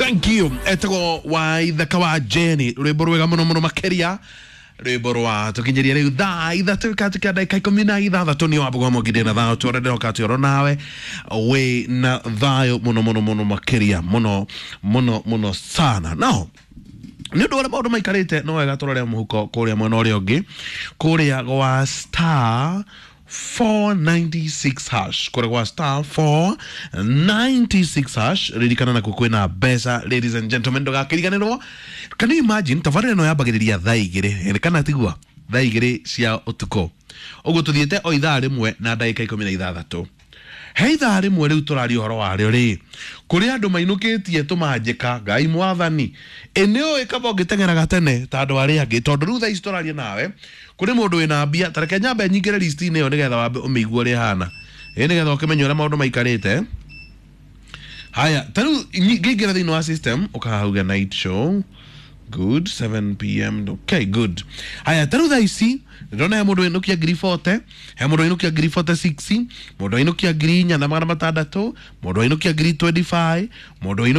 Thank you. Etagwo Waithaka wa Jenny, rwimbo rwega muno muno makiria, rwimbo rwa tukinyiria riu thaa 3 katika ndagika 16. Ni wambugwa mwongithie na thayo twore ndiroka ati oro nawe wi na thayo muno muno muno makiria, muno muno muno sana. Now nä å ndå å rä a maå ndå maikarä te, no wega tå rore må huko kå rä a mwena å rä a å ngä, kå rä a gwa star 496 hash, kå rä a gwa star 496 hash. Ririkana nakuo kwĩna mbeca, ladies and gentlemen, ndũgakĩriganĩrwo. Can you imagine, tabarĩra ĩno yambagĩrĩria thaa 2, kana tigua, thaa 2 cia ũtukũ ũguo, tũthiĩte o ithaa rĩmwe na ndagĩka 16. He ithaa rĩmwe rĩu tũraria ũhoro warĩo rĩ, kũrĩ andũ mainũkĩtie tũmanjĩka. Ngai mwathani, ĩ nĩ ũĩ kaba ũngĩteng'eraga tene ta andũ arĩa angĩ, tondũ rĩu thaa ici tũraria nawe kũrĩ mũndũ wĩna mbia. Ta reke nyambe nyingĩre list-inĩ ĩyo nĩgetha wambe ũmĩigue ũrĩa ĩhana, ĩ nĩgetha ũkĩmenye ũrĩa maũndũ maikarĩte. Haya, ta rĩu ngĩingĩra thĩinĩ wa system, ũkahauga night show, good, 7 p.m., okay, good. Haya, ta rĩu thaa ici ndĩrona he mũndũ wainũkia ngiri 40, he mũndũ wainũkia ngiri 46, mũndũ wainũkia 4600, mũndũ wainũkia ngiri 25, mũndũ wainũkia